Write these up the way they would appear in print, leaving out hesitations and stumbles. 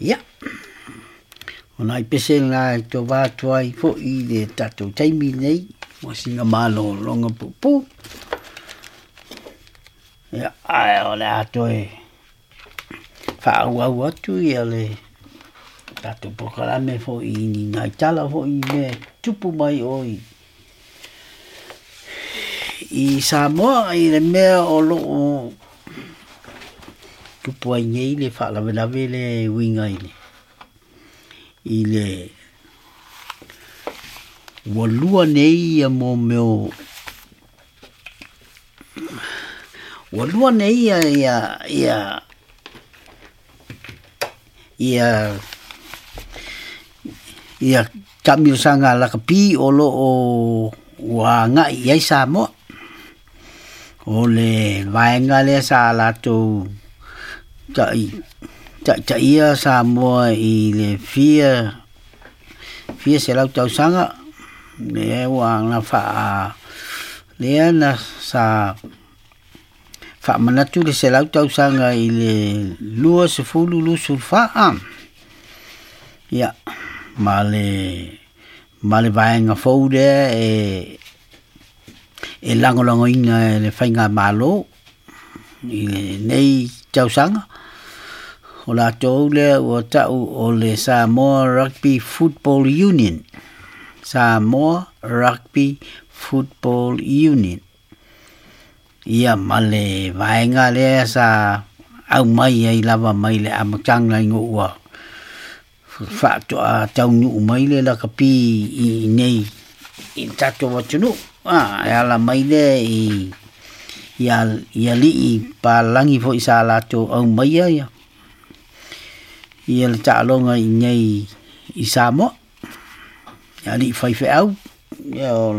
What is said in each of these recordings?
Ia, o nai pese na e tau va atu ai fo'i i le tatou taimi lenei mo sina malologa puupuu. Ia, ae o le a toe faaauau atu ia le tatou polokalame foi i ni nai tala foi i mea e tupu mai o i Samoa i le mea o lo o tupu ai nei le faalavelave lea e uiga i le ua lua nei ia mo mea o ua lua nei ia ia ia ia ia taamilosaga lakapi o lo o ua agai i ai Samoa. O le vaega lea sa latou taitaia Samoa i le fia fia selau tausaga lea ua na faa lea na sa faamanatu le 100 tausaga i le 2024. Ia, ma le vaega fou lea e lagolagoina e le faigamalo i lenei tausaga. O latou lea ua tau o le Samoa Rugby Football Union. Samoa Rugby Football Union. Ia ma le vaega lea sa aumai ai lava mai le amataga ina ua faatoa taunuu mai le lakapi i nei i le tatou atunuu. E ala mai lea i alii palagi foi sa latou aumaia ia le taaloga i nei i Samoa. Alii faifeau ia o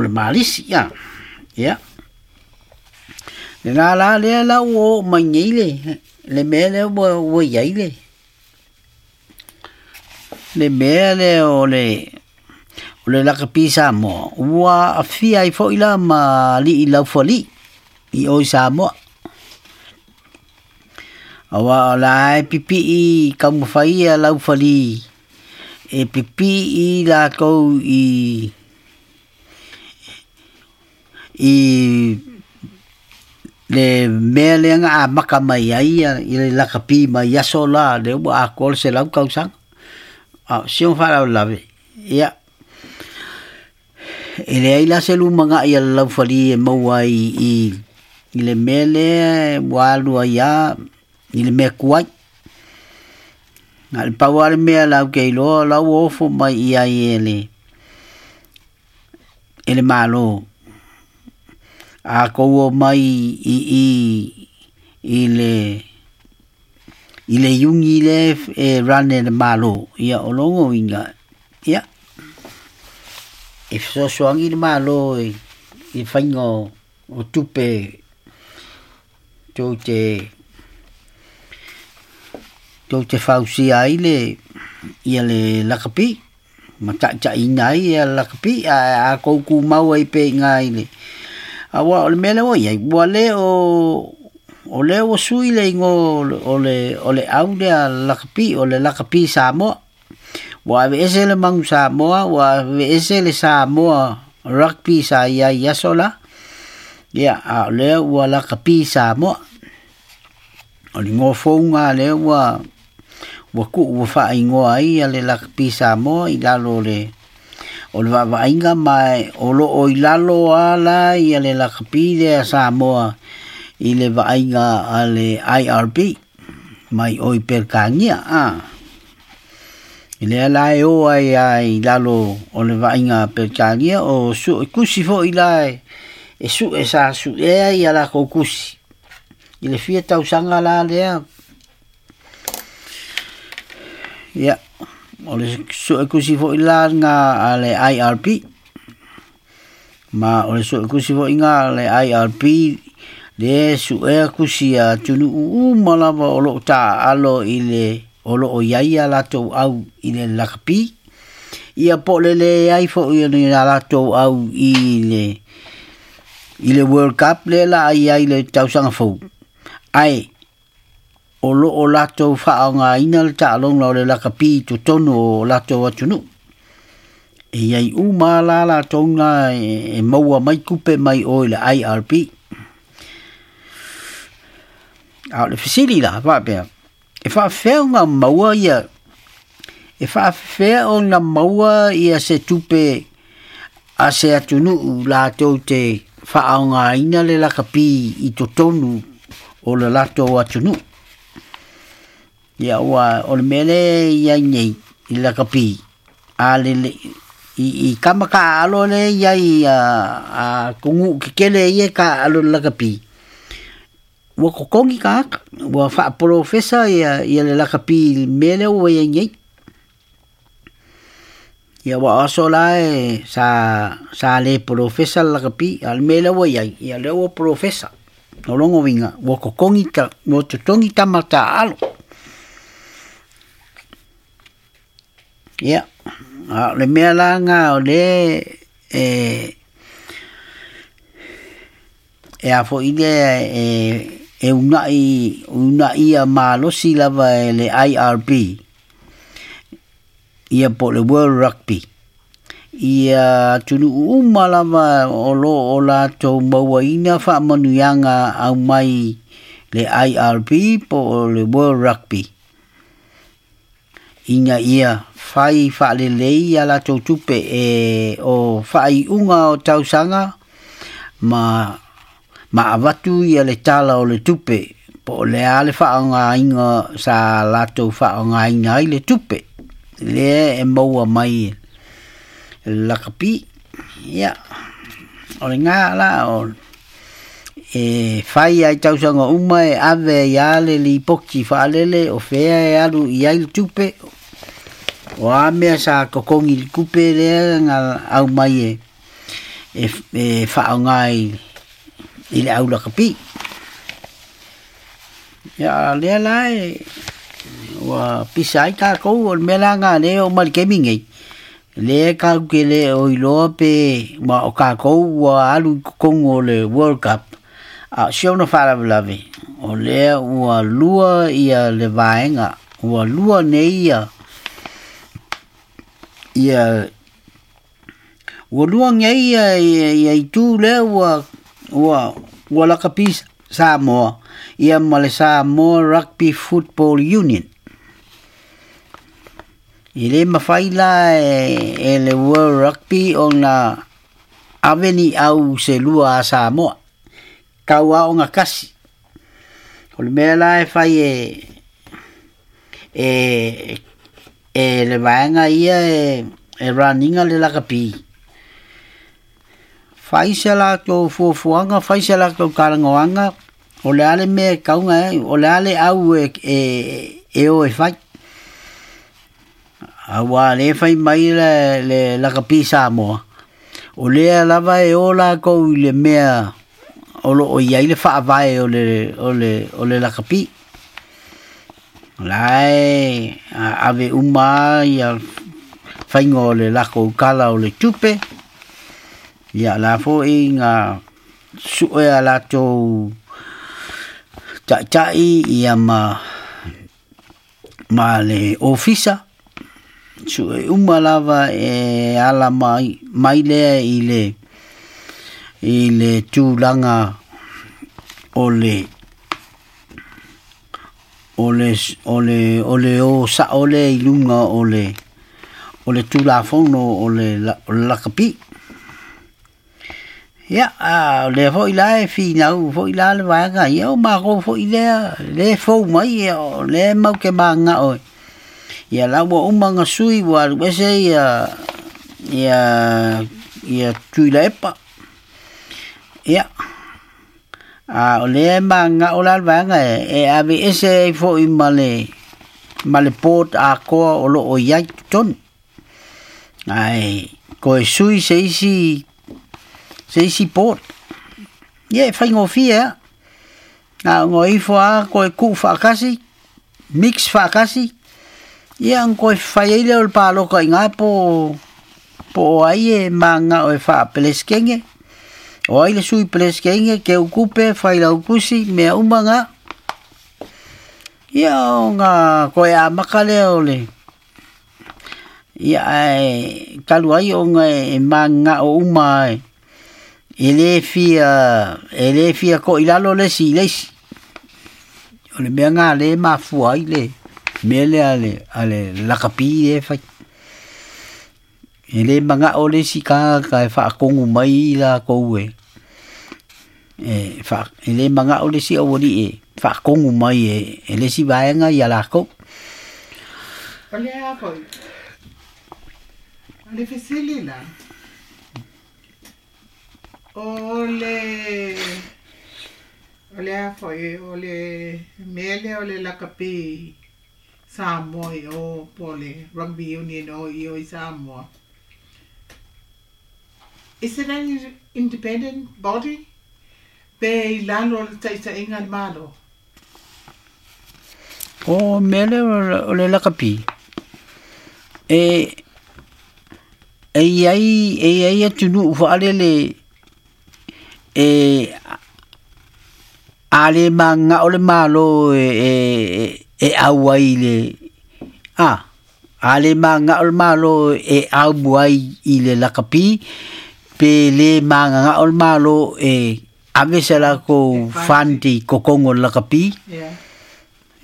le malisi ia. Ia lena la lea la ua oo mai nei le mea lea ua i ai le mea lea o le lakapi Samoa ua aafia ai foi la ma alii laufali i o i Samoa. Aua o la e pipii taumafai ia laufali e pipii latou i le mea lea na amata mai ai i le lakapi mai aso la lea ua atoa le 100 tausaga. A o si ona faalavelave, ia e leai la se lumanai a le laufali e maua ai i le mea lea ua alu ai lava i le mea tuai. Na o le pau lava le mea latou te iloa la ua ofo mai i ai e le Malo. A tou omai i le iuni lea e run e le Malo, ia o lona uiga, ia e fesoasoani le Malo i le faiga o tupe tou te fausia ai le lakapi ma taitaiina ai ia le lakapi. Ae a tou tumau ai pea i ina i le aua o le mea lea ua i ai ua le o lea ua sui le igoa o le au lea lakapi, o le lakapi Samoa. Ua aveese le manu Samoa, ua aveese le Samoa Rugby sa i ai i aso la. Ia, a o lea ua lakapi Samoa. O le igoa fouga lea ua tuu ua faaigoa ai le lakapi Samoa i lalo o le vaavaaiga, ma o lo o i lalo lava la ia le lakapi lea Samoa i le vaaiga a le IRB mai o i Peretania. I lea la e o ai i lalo o le vaaiga a Peretania, o tusi foi la e sue sa suea ia latou tusi i le fia tausaga la lea. Ia, o le suetusi foi la nga a le IRB, ma o le suetusi foi nga a le IRB le suea tusi a atunuu uma lava o lo o taaalo i le o lo o i ai ia latou au i le lakapi. Ia po o le leai foi o ni latou au i le World Cup lea la ai ai le tausaga fou. Ae o loo latou faaaogaina le taaloga o le lakapi i totonu o latou atunuu. E i ai uma la latou na e maua mai tupe mai o i le IRB. A o le fesili la faapea, e faafefea ona maua ia, e faafefea ona maua ia se tupe a se atunuu latou te faaaogaina le lakapi i totonu o le latou atunuu. Ia ua o le mea lea e i ai nei i le lakapi, a lele i kama taaalo lea e i ai a atunuu tetele ia e taaalo i le lakapi, ua totogi tagata, ua faapolofesa ia le lakapi i le mea lea ua i ai nei. Ia ua o aso la e sa le polofesa le lakapi, a o le mea lea ua i ai, ia lea ua polofesa. O lona uiga, ua totogi tama taaalo. Ia, a o le mea la lena o lea e a foi lea e unaia malosi lava e le IRB, ia po o le World Rugby, ia atunuu uma lava o loo o latou mauaina faamanuiaga aumai le IRB po o le World Rugby, ina ia fai faalelei ia latou tupe e o faaiuga o tausaga ma avatu ia le tala o le tupe po o le a le faaaogaina sa latou faaaogaina ai le tupe lea e maua mai le lakapi. Ia o lena la o e fai ai tausaga uma e ave ia le lipoti faalele o fea e alu i ai le tupe, o a mea sa totogi le tupe lea na aumai e faaaoga i le au lakapi. Ia lea la e ua pisa ai tatou o le mea la na lea o mai le taimi nei, lea tatou te le o iloa pe ma o tatou ua alu i totonu o le World Cup. A o si ona faalavelave, o lea ua lua ia le vaega, ua lua nei ia ua lua nei ia itu lea ua lakapi Samoa ia ma le Samoa Rugby Football Union. I le mafai la e le World Rugby ona ave ni au se lua a Samoa, tau a ona kasi. O le mea la e fai e le vaega ia e raninga le lakapi, fai se latou fuafuaga, fai se latou talanoaga, o le a le mea e tauga ai, o le a le au e o e fai. Aua le fai mai le lakapi Samoa, o lea lava e o latou i le mea o loo i ai le faavae o le lakapi. La e ave uma ia faiga o le latou tala o le tupe, ia la foi nga sue a latou taitai ia ma le ofisa, sue uma lava e ala mai lea i le tulaga o le o sao lea i luga o le tulafono o le lakapi. Ia, o lea foi la e finau foi la le vaega ia o matou foi lea le fou mai ia o lea mau te magao ia la ua uma na sui ua alu ese ia Tuilaepa. Ia a o lea magao la le vaega e ave ese ai foi ma le board atoa o loo i ai totonu. Ae koe sui se isi board. Ia e faigofie a. Na ngo ifo a koe tuu faakasi, mix faakasi, ia ang koe fai ai lea o le paloka i ngā po o ai e magao e faapeleskenge. O ai le sui peleskenge, ke ukupe, fai laukusi, mea uma ngā. Ia ona toe amata lea o le ia ae talu ai ona e mananao uma e lē fia to'ilalo le isi i le isi. O le mea lena lea e mafua ai le mea lea a le lakapi lea e fai. E lē mana'o le isi tagata e fa'atonu mai i latou e lē mana'o le isi auali'i e fa'atonu mai e le isi vaega ia latou. O le a foi o le fesili la o le a foi o le mea lea o le lakapi Samoa i o po o le Rugby Union o i o i Samoa. Is it an independent body? Pe i lalo o le ta'ita'iga a le Malo? O mea lea o le lakapi e i ai atunuu fa'alele e a lē magaga'o le Malo e au ai le a lē magaga'o le Malo e au ai i le lakapi pe lē magaga'o le Malo e ave se lakou fund i totonu o le lakapi.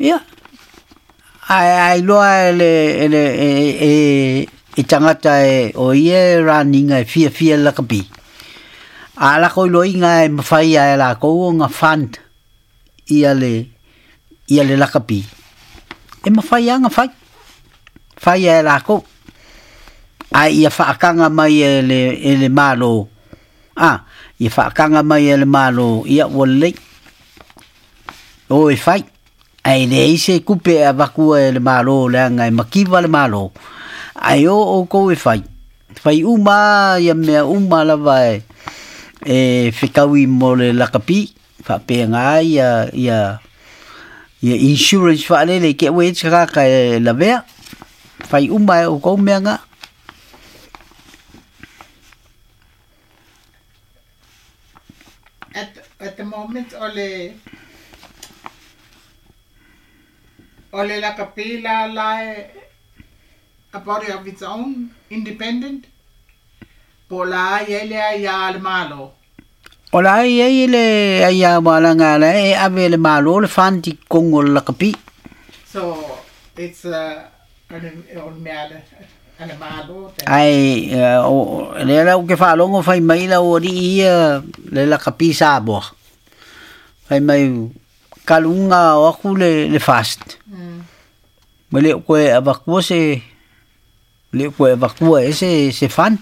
Ia ae ailoa e le e tagata e o ia e raniga e fiafia le lakapi a lakou iloiga e mafai a e lakou ona fund ia le lakapi e mafai aga fai fai e lakou ae ia fa'ataga mai e le Malo ia fa'ataga mai e le Malo ia ua lelei o e fai ae leai se tupe e avatua e le Malo leaga e mativa le Malo ae o outou e fai fai uma ia mea uma lava e fetaui mo le lakapi fa'apega ia ia ia insurance fa'alele ke ue tagata e lavea fai uma e outou mea ga. At the moment o le lakapi la a body of its own, independent, po la ia le ia le Malo. O la ia le ia walaga la e ave le Malo le fund i totonu o le lakapi. So it's o mea le Malo. Ai o le la ke fa'alogo fai mai la o ali'i ia le lakapi Samoa. Fai mai kaluga o aku le fast. Ma le koe avakua se le koe avakua e se fund.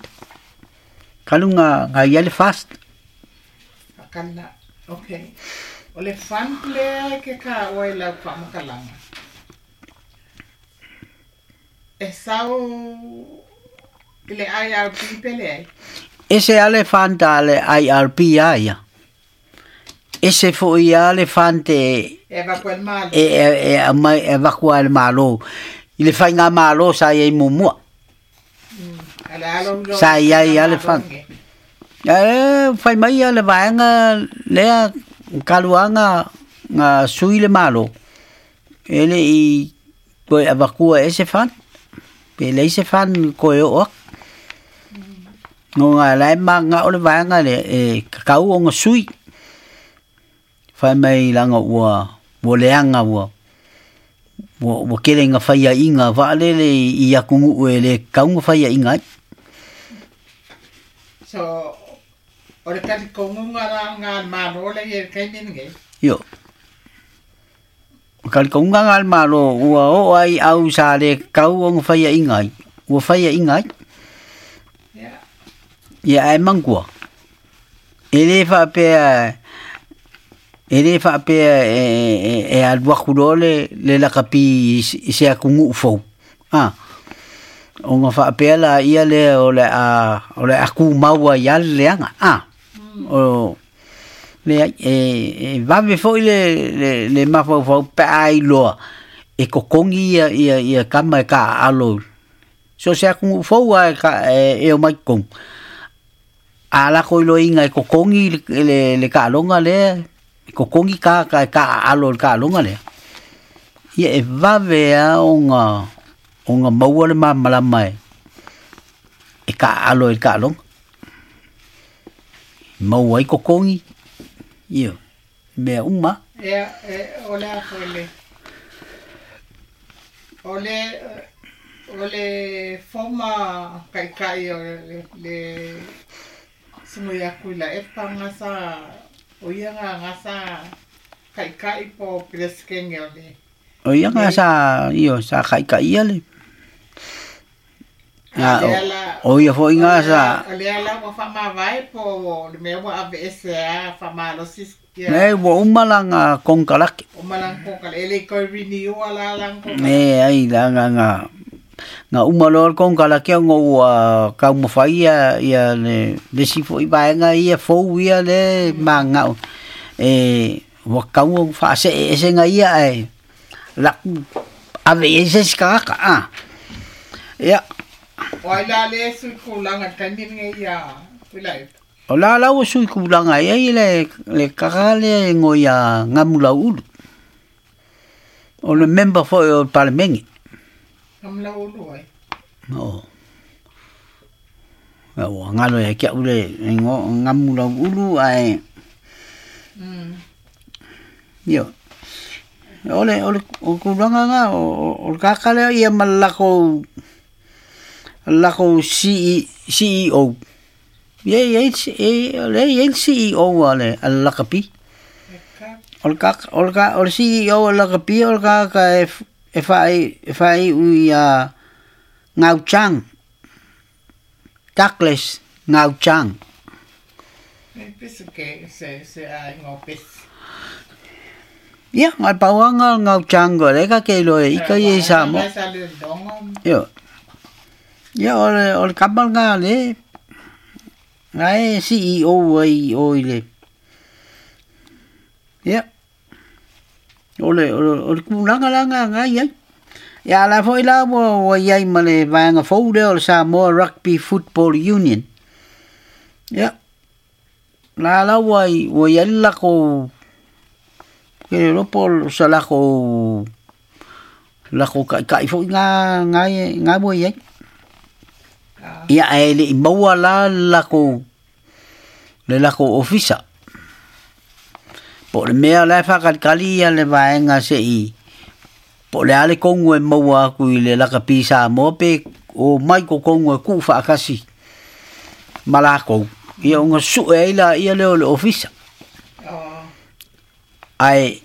Kaluga ga ia le fast. Akala, okay. O le fund lea ke ka o e lau whaamakalanga. E sau i le IRP pele ai? Ese ale fund a le IRP a ia. Ese fo'i a le fund e E vakua le Malo. E vakua le Malo. I le whainga Malo sa ia i mumua. Sa ia i ale fund. E whai mai a le vaenga lea kaluanga ngā sui le Malo. E le i koe avakua e se fund. Pe lei se fund koe o ak. No ngā lai ma ngā o le vaenga le e kakau o ngā sui. Whai mai langa ua leanga ua kele ngā whaia inga waalele i akungu e le kaunga whaia inga ai. So, o le tali kongunga la ngā Malo le i kaimene nge? Io. O kali kongunga ngā Malo ua o ai au sa le kau o ngā whaia inga ai. Ua whaia inga ai. Yeah. Ia ai mangua. E le whaapea e alu le lakapi i se akungu fou. O ngā whaapea la ia le o le aku maua ia le leanga. O le e vave foi le mafaufau pe ai loa e kokongi ia kama e ka alo. So se akungu fou a e o mai kong. A la koi loinga e kokongi le ka alonga lea. Kokongi ka alo le ka alonga lea. Ia e vave a ona maua le malamalama e kaalo e kaaloga. Maua ai totogi, ioe, mea uma. Ia, e, o le a foi le o le o le former taitai o le sugui atu i la epa gasa o ia ga gasa taitai po peresetene o le O ia ga sa ioe sa taitaia le o ia foʻi ga sa o lea la ua faamavae po o le mea ua aveese a faamalosi ia. E ua uma laga konekarate. Uma lana konekarate e le i toe renew la lana konekarate. E ai laga na uma loa le konekarate ona ua taumafai ia ia le isi foʻi vaega ia fou ia le manao e ua tatau ona faase'e ega ia ae laʻu ave i ai se isi tagata a ia. O ai la le sui kulaga i le taimi lenei ia Tuilaepa? O la la ua sui kulaga ai ai le kaka lea e igoa ia Gamulauulu. O le member foʻi o le Palemene. Gamulauulu ai? O. Ua galo ia te a'u le igoa o Gamulauulu ae ioe. O le tulaga lena o le tagata lea ia ma le latou CEO. Ia e i ai o lea e i ai le CEO a le lakapi. O le CEO a le lakapi o le tagata e faai'u ia Ngau Chang. Douglas Ngau Chang. E pese ke se aiga o pese. Ia, na o le pau lava lena o Ngau Chang o lea ka te iloa e ika ia i Samoa. Sa le logo. Ioe. Ia o le kama lena le na e CEO ai o i le. Ia. O le tulaga la na i ai. Ia la foʻi la ua iai ma le vaega fou lea o le Samoa Rugby Football Union. Ia. La la ua iai le latou ke le iloa po o sa latou taʻitaʻi foʻi na ua iai. Ia ae leʻi maua la le latou ofisa. Po o le mea la e faatalitali ia le vaega seʻi po o le a le tonu e maua atu i le lakapi Samoa pe o mai totonu e tuu faatasi ma lakou. Ia ona sue ai laia lea o le ofisa. Ae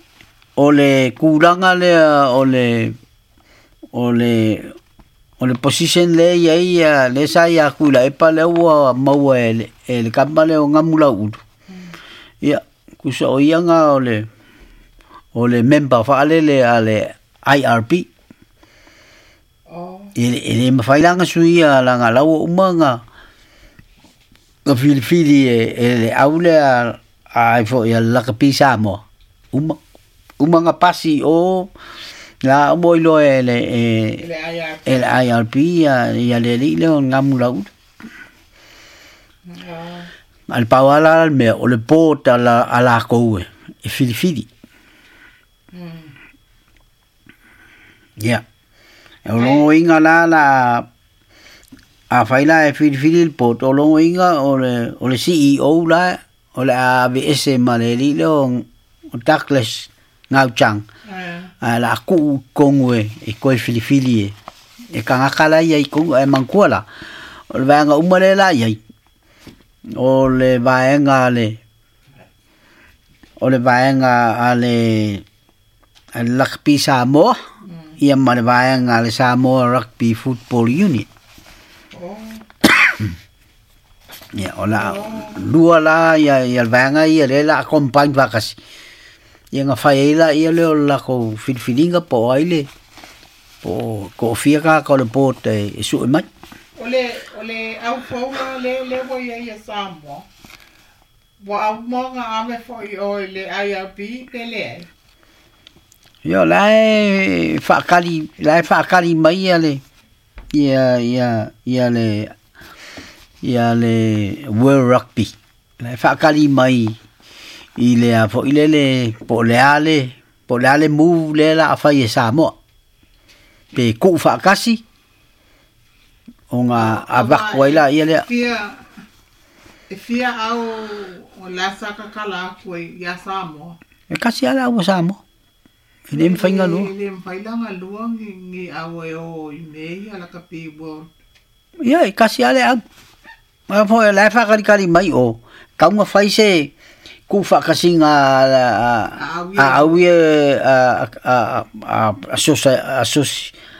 o le tulaga lea o le position lea e i ai ia lea sa ia atu i Laepa lea ua maua e le kama lea o Gamulauulu. Ia tusa o ia ga o le member faalele a le IRB. E le mafai la ona suia laga la ua uma na filifili e le au lea ai foʻi a le lakapi Samoa. Uma uma na pasi o la uma iloa e le e Le IRB. E le IRB ia le alii lea o le Gamulauulu. A le pau lava la le mea o le board a lakou e filifili. Ia. E o logoiga la la afai la e filifili le board o logoiga o le CEO la o le a aveese ma le alii lea o Douglas Ngau Chang. Ae la tuu i totonu e toe filifili e tagata la ia i totonu ae manatua la o le vaega uma lea la i ai o le vaega a le Rugby Samoa ia ma le vaega a le Samoa Rugby Football Union. Ia o la lua la ia le vaega ia lea la combine faatasi. Ia na fai ai laia lea o le latou filifiliga po o ai le po o toafia tagata o le board e sue mai. O le au fou la le ua ia ia Samoa. Ua au mo nga ave foi o i le IRB pe le ai. Ia la e faakali mai ia le ia ia ia le ia le World Rugby. La e faakali mai i le a foʻi lele po o le a le Po le a le move lea la a fai e Samoa. Pe kuu faakasi ona avako ai la ia lea. Fia e fia au o la sa kakala aku ai ia Samoa. E kasi ala ua Samoa. E le mawhai ngā lua. E le mawhai la ngā lua ngi au e o i mei ala ka pi world. Ia, e kasi ale au. Ma fo e lai whakarikari mai o. Kaunga whai se ku whakasinga a au e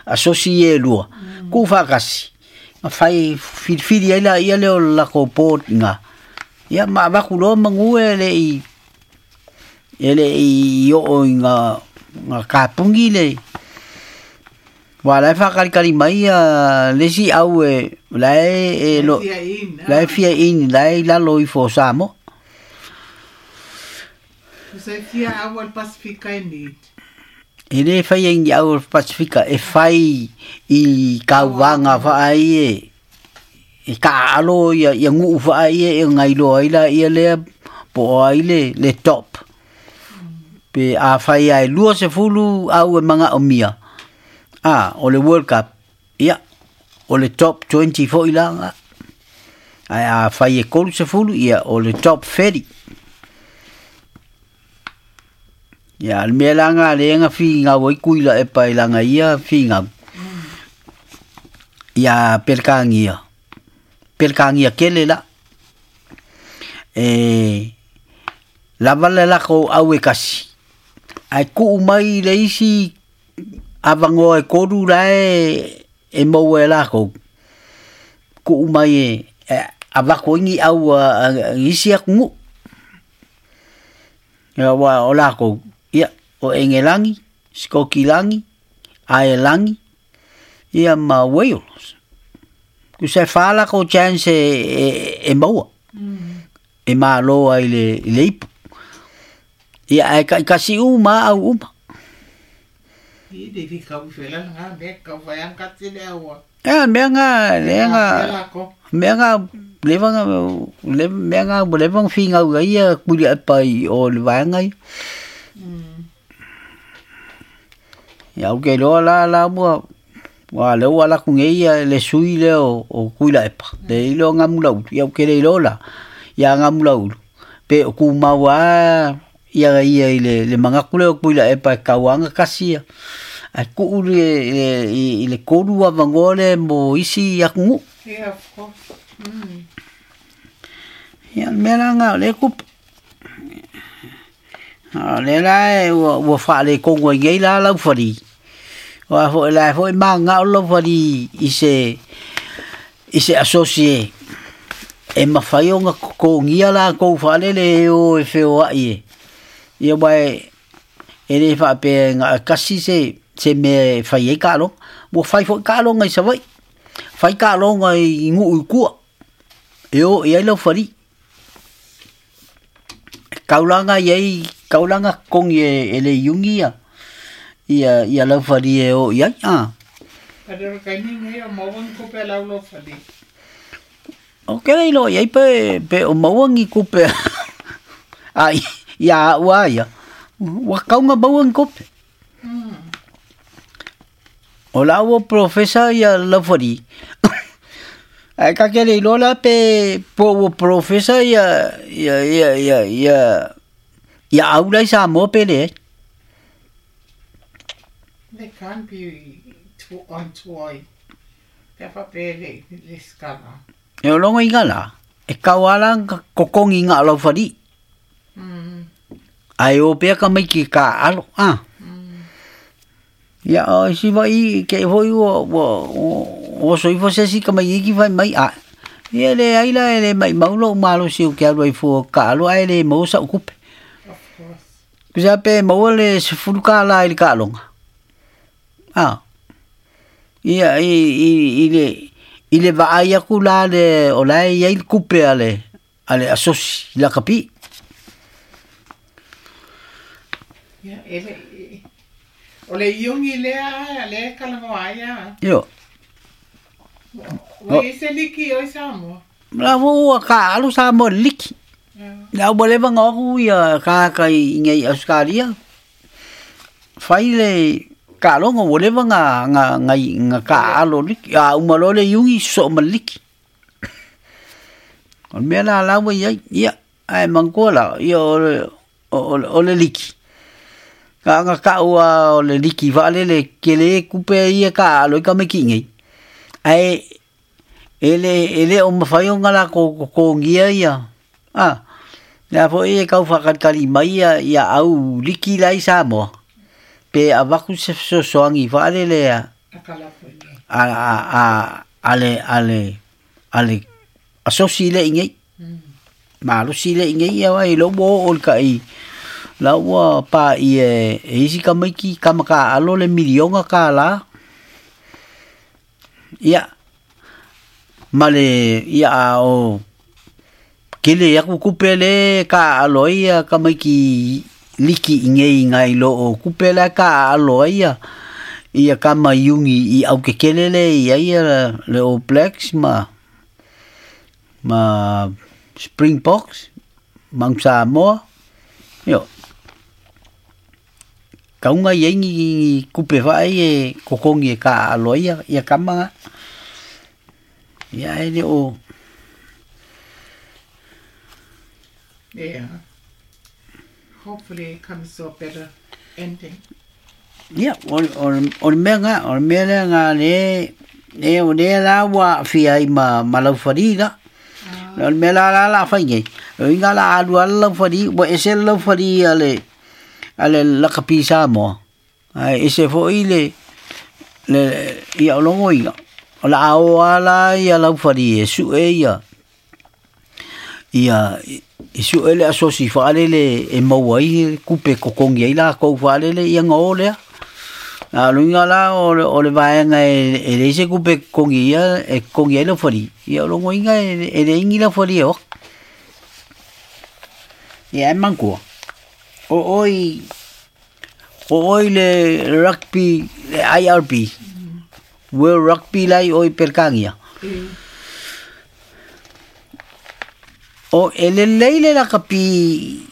asosi e lua. Ku whakasi. Nga whai whiriwhiri ai la ia leo lako pōt ngā. Ia ma waku loa mangu e le i e le i o i ngā kāpungi le. Wa lai whakarikari mai a lesi au e lai e lo lai fia in lai lalo i fo Samoa. Se fia au al Pasifika e ni. E le whai e au al Pasifika e whai i kauwanga whaai e e ka alo ia ia nguu whaai e ngai loa ila ia lea po ai le top. Pe a whai ai lua se fulu au e manga o mia. Ah, o le World Cup. Ia, o le top 24 ilanga. Ai a whai e kolu se fulu ia o le top 30. Ia, le mea langa le nga fi ngā wai kuila e pai langa ia fi ngā. Ia pelkangia. Pelkangia kele la. E lava le lako au e kasi. Ai kuu mai le isi awangoa e koru la e maua e lako. Kuu mai e awako ingi au a isi aku ngu. Ia wa o lako. Ia, o Engelangi, Skokilangi, Aelangi, ia ma Wales. Ku se whala ko chance e maua. E māloa i le ipu. Ia, e kasi uma au uma. I le fi kau whela ngā me kau whai ang katile aua. Ia, mea ngā, mea ngā, mea ngā, lewanga whingau ia kuri e pai o le waenga ia. Ia, au ke loa la la mua, wa leo ala ku ngei ia le sui le o kuila epa. Le ilo ngā mula ulu. Ia, au ke le ilo la, ia ngā mula ulu. Pe o ku maua ia ia i le mangakule o kuila epa e kauanga kasi ia. Ai ku ulu i le koru a wangole mo isi aku ngu. Yeah, of course. Ia, mea la ngā le kupu. Le la e ua whaale kongo i ngei la lau whari. Ua fo e la fo e maa ngā o lau whari i se asosie. E mawhai o ngā kongia la kou whaale le o e whio ai e. Ia wai e le whaapea ngā kasi se me whai e kaalonga. Ua whai fo i kaalonga i sawai. Whai kaalonga i nguu i kua. E o e ai lau whari. Kaulanga iai kaulanga kongi e le iungi ia ia lau whari e o iai a. Padero kaini ngai o mauangi kupe lau lau whari. O kere ilo iai pe o mauangi kupe a ia ua ia. Wa kaunga mauangi kupe. O lau o profesa ia lau whari. Ai ka kere ilo la pe po o profesa ia ia ia ia ia ia aula i Samoa pele. They can't be on toy. Pe fa pele le skala. E o longo inga la. E kauala kokongi ngā lau whari. Ai o pea ka mai ki ka alo. Ah. Ia o si vai ke hoi o o so ifo se si ka mai iki vai mai a. Ia le ai la le mai maulo malo si o ke alu ai fo ka alo ai le mo sa ukupe. Of course. Kusa pe mo le se fulu ka la i ka longa. Ah. Ia i le vaai aku la le o la ia i kupe ale asosi la kapi. Ia ele o le iungi lea le kalangoa ia. Io. Ua ese liki oi Samoa. La ua ka alu Samoa liki. La ua leva ngā aku ia kāka i ngei Australia. Fai le taaloga ua leva na taaalo liki, a uma loa le iugi sosoo ma le liki. O le mea la la ua i ai, ia, ae manatua la, ia o le liki, na ona tau lava o le liki faalele, tele tupe ia e taaalo ai tamaiti i inei, ae e le o mafai ona latou totogia ia, a, le a foi e tau faatalitali mai ia au liki la i Samoa, pe avatu se fesoasoani faalele a le asosi lea i inei, malosi lea i inei, ia ai lea ua oo i le tai la ua paia e isi tamaiti tama taaalo le miliona tala. Ia ma le ia a o kele aku tupe le taaalo ai ia tamaiti liki i inei nai lo o tupe la taaalo ai ia tama iugi i aukekele le i ai ia le All Blacks ma Springboks, Mount Samoa. Io kauga i ai ni tupe faai e totogi e taaalo ai ia tama. Ia e le o. Yeah. Hopefully it comes to a better ending. Ia, o le mea nga, o le mea lea nga le o lea la ua aafia ai ma laufali la. O le mea la la la fai nei. O inga la alu ala laufali, ua ese le laufali a le lakapi Samoa. Ae ese foi le ia o logo inga. O la ao ala ia laufali e sue ia e sue le asosi faalele e maua ai kupe kokongi ai lakou faalele ia nga o lea. A luinga la o le vaega e leai se kupe kokongi ia e kokongi ai laufali. Ia o logo inga e le ingi laufali e o. Ia e manatua. O oi le rugby, le IRB, World Rugby lai o i Pelkania. O e lelei le lakapi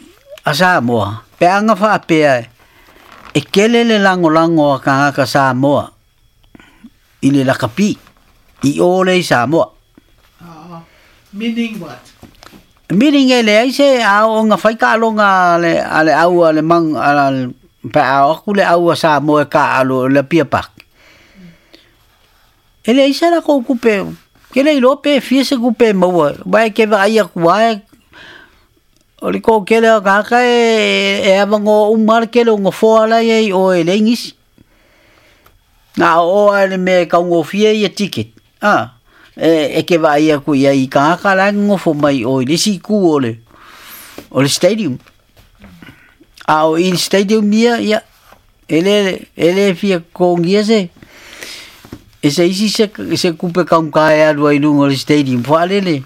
a Samoa, pe anga faapea e kele le lagolago a tagata Samoa i le lakapi i o le i Samoa. Meaning what? Meaning e leai se aoga fai taaloga a le au a le mang a le pe a aku le au a Samoa e taalo le Apia Park. E leai se lakou tupe, ke le iloa pe fia se tupe e maua, aua e ke vaai atu lava o le toatele o tagata e avanoa uma le tele o nofoa la e i ai i o e leai nisi. Na oo lava i le mea e taugofie ia ticket, a, e ke vaai atu i ai i tagata la e nonofo mai i o i le isi itu o le stadium. A o i le stadium ia, ia, e le fia totogia se, e se isi se tupe taugata e alu ai i luga o le stadium faalele.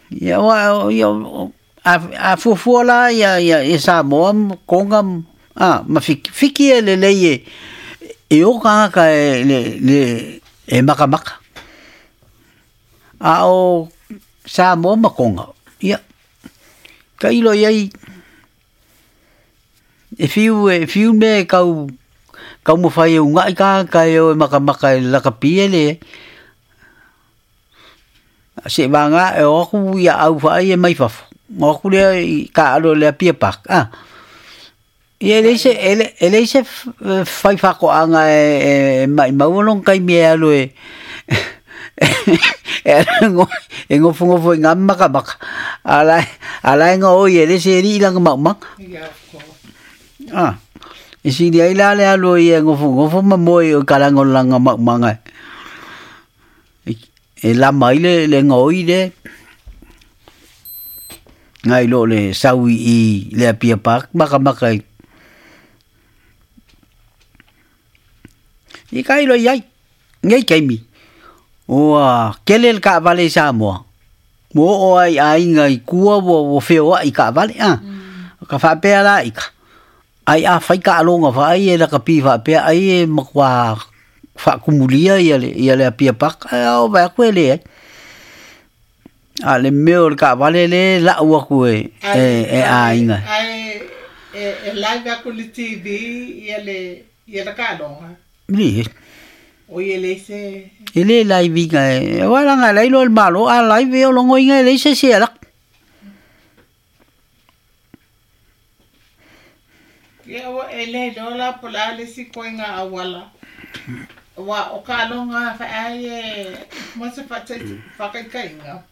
Ia ua ia a fuafua la ia Samoa ma Koga a ma Fiki. Fiki e lelei e o tagata e le e makamaka. A o Samoa ma Koga, ia tailo i ai e fiu mea e kau taumafai e uga'i tagata e o e makamaka i le lakapi e leai. Se'evagā e o aku ia au fa'ai e mai fafo, o aku lea i taalo i le Apia Park, a. Ia e leai se e leai se fai fa'ato'aga e ma'imau lona taimi e alu e nofonofo i gā makamaka, a la e gaoi e le se ali'i lana ma'umaga. Yeah, of course. A. E sili ai la le alu ai e nofonofo ma moe o i kalaga o lana ma'umaga e lama ai le gaoi le nai lo le sau i le Apia Park makamaka i. I ka ilo i ai, nei taimi, ua kele le taavale i Samoa, ua oo ai aiga i tua ua feoai i taavale, a. Ka faapea la ika, ai a fai taaloga faai e lakapi faapea ai e matua faakumulia ia le Apia Park, ae o vaai atu e leai. A le mea o le taavale le lau atu e aiga. Ae e live aku le TV ia le ia le kaloga. Le O ia le se e le live inga e wala nga lai lo malo a live o longo inga le se se ala. Ia o e le lola pola le si koinga awala. Wa o kalonga fa ai e mo se fa te fa kai kainga.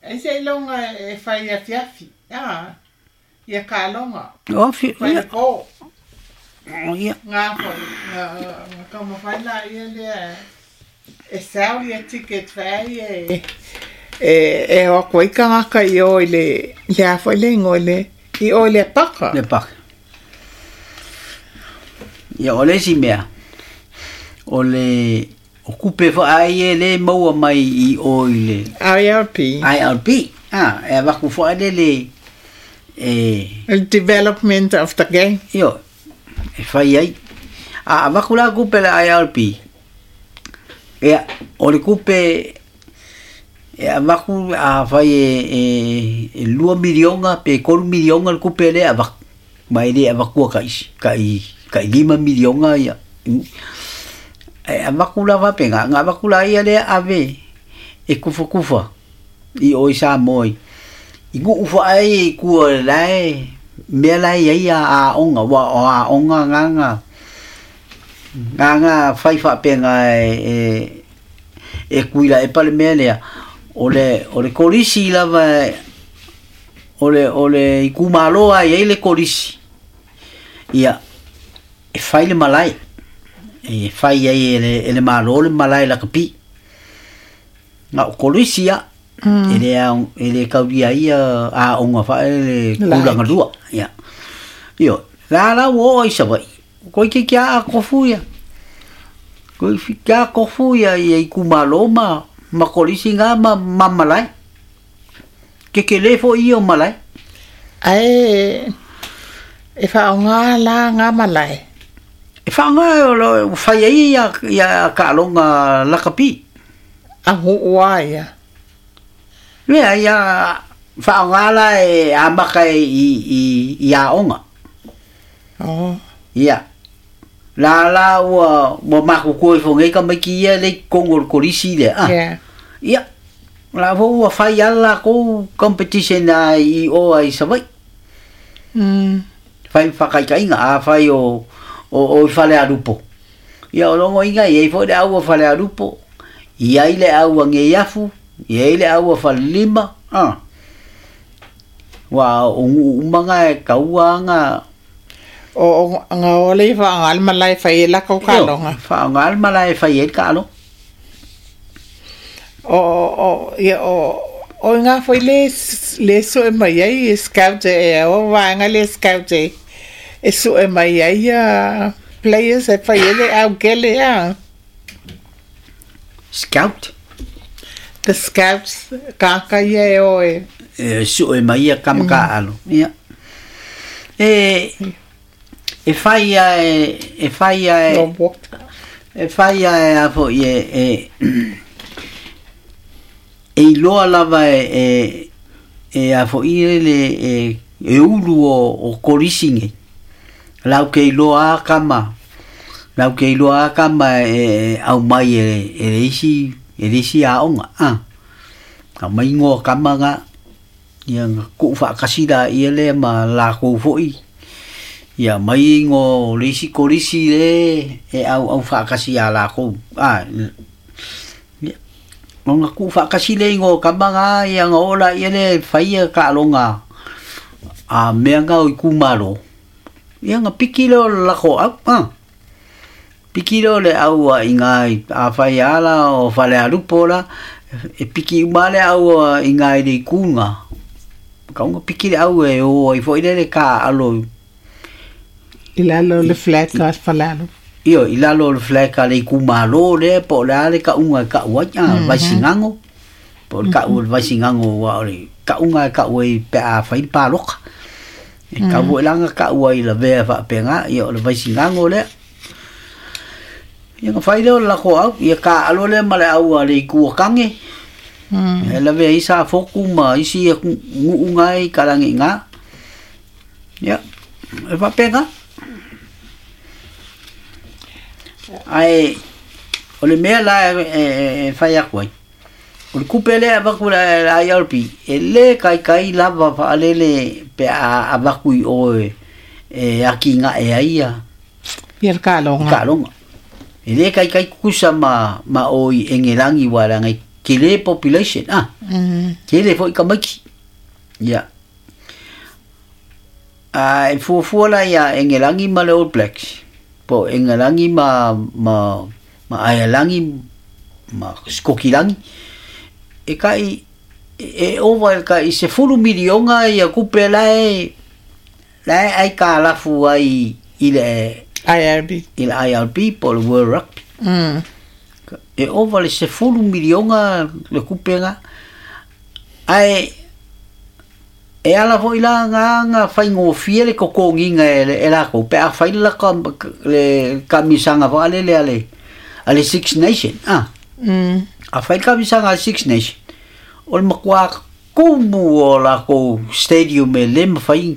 E se longa e fai a fiafi. Ah. Ia kalonga. O fi Fai le ko. Ia. Ngā foi, ngā kama whai la ia lea e sell ia ticket whai e e o koe ka ngaka i o i le le a foi le ingo le i o i le paka. Le paka. Ia o le si mea. O le o kupe fa ai e le maua mai i o i le IRP. IRP. Ah, e waku fa le le e The development of the game. Io e fai ai. A waku la kupe le IRP. Ia o le kupe e a waku a fai e 2 milionga pe 3 milionga le kupe le a waku. Mai le a wakua ka isi ka i 5 milionga ia. E a waku la wapenga nga waku la ia le ave e kufa kufa i o i Samoa. I ngu ufa ai i kua lae mea lae ia a onga wa o a onga nganga nganga fai whapenga e kuila e pale mea lea o le kolisi lava o le i kumaloa i le kolisi ia e fai le malae e fai ai e le malo le malae la kapi nga o kolisi ia e le kauria ia a onga fa e le kulanga lua ia io la la wo i sabai koi ke kia a kofu ia koi kia kofu ia i kumalo ma kolisi ngā ma malae ke ke le fo i o malae ai e whaonga la ngā malae e whaonga o whai ai ia kaalonga lakapi a huua ia Lea ia whaonga la e amaka i a onga. Oh. Ia. La la ua maku koe whongai ka mai ki ia le kongo le kolisi le. Ah. Yeah. Ia. La fo ua whai ala kou competition a i o ai sawai. Whai whakaikainga a whai o i whale arupo. Ia o longo inga i ei fo le au whale arupo. Ia i le au a ngeiafu. Ia ile aua whalima, ah. Wa o umanga e kaua nga o nga ole whaangal malai whai e lako kalonga. Whaangal malai whai e kalo. O ia o nga foi le so e mai ai e scout e o waanga le scout e so e mai ai a players e whai ele au kele a. Scout? The scouts, kaka ia e oe. E su e mai ia kama ka alo. Ia. E whai a e whai a e whai a e a fo i e e iloa lava e a fo i le e ulu o kolisi nge. Lau ke iloa a kama. Lau ke iloa a kama e au mai e le isi e risi a onga, ah. Ka mai ngoa kama nga, ia nga ku whaakasira ia le ma la kou foi. Ia mai ngo risi kolisi le e au whaakasi a la kou. Ah, ia. Nga ku whaakasi le ngo kama nga, ia nga ola ia le whaia ka alonga a mea nga o i kumaro. Ia nga piki leo lako au, ah. Piki leo le aua i ngā a whai ala o whale arupo la, e piki umale aua i ngā i le kunga. Ka unga piki le aua e o i fo i lele ka alo. I lalo le flag ka whalalo. Io, i lalo le flag ka le i kumalo le, po le ale ka unga ka ua, vaisingango. Po le ka ua le vaisingango wa o le ka unga ka ua i pe a whai pāloka. E ka ua langa ka ua i la vea whaapenga, ia o le vaisingango le. Ia nga whai leo lako au, ia ka alo le ma le au a le i kua kange. E lawe i sa foku ma isi e ngu ngai karangi ngā. Ia, e faapena. Ae o le mea la e fai atu ai, o le tupe lea e avatu i le IRB, e le taitai lava faalele pe a avatu i o e atinae ai ia Ia le taaloga. Taaloga. E le taitai tutusa ma o i Engelagi aua leaga e tele population a. Tele foi tamaiti. Ia. A e fuafua la ia Engelagi ma le All Blacks, po o Engelagi ma Aelagi ma Sikokilagi, e tai e ova i le tai 10 miliona ia tupe la e la e aitalafu ai i le IRB. I le IRB po o le World Rugby. E ova le 10 miliona le tupe lena. Ae e ala foi la na na faigofie le totogiina e lakou pe a fai le le taamilosaga faalele a le Six Nation. Ah. A fai le taamilosaga a le Six Nation, o le matua tumu o lakou stadium e le mafai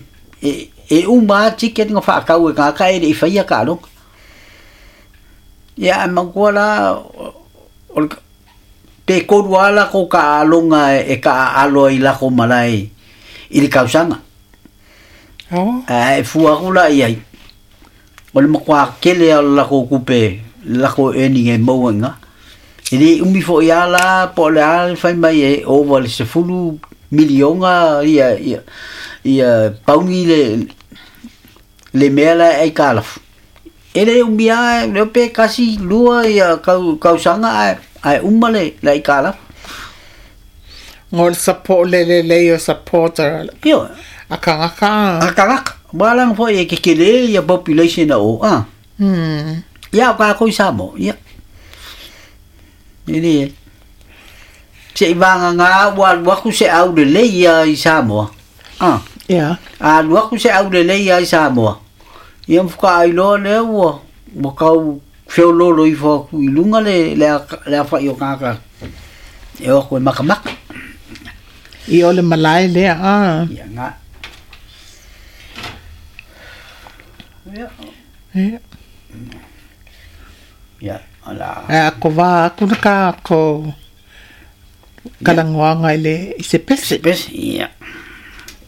e uma lava ticket na faatau e tagata e le i faia taaloga. Ia ae manatua la o le pe tolu lava lakou taaaloga e taaalo ai i lakou malae i le tausaga. Ae fua atu la i ai, o le matua tele lava o le lakou tupe, le lakou earning e maua i ina. E le umi foi lava la po o le a le fai mai e ova i le 10 miliona ia pauni le mea la e aitalafu. E le umi lava, le iloa pe tasi, lua ia tausaga ae uma le aitalafu. Ngo le support le lelei o supporter Ioe. a tagata. A tagata. Aua leaga foi e tetele ia population o a. Ia o tatou i Samoa, ia. E le se i vagagā ua alu atu se aulelei ia i Samoa. A. A alu atu se aulelei ia i Samoa, ia ma faatoa iloa lea ua tau feoloolo ifo atu i luga le afa'i o tagata e o atu e matamata. I o le malae lea a. Ia na. Ia. Ia. Ia, o la. Ae a kovā atu le tatou talanoaga i le i se pese. Pese, ia.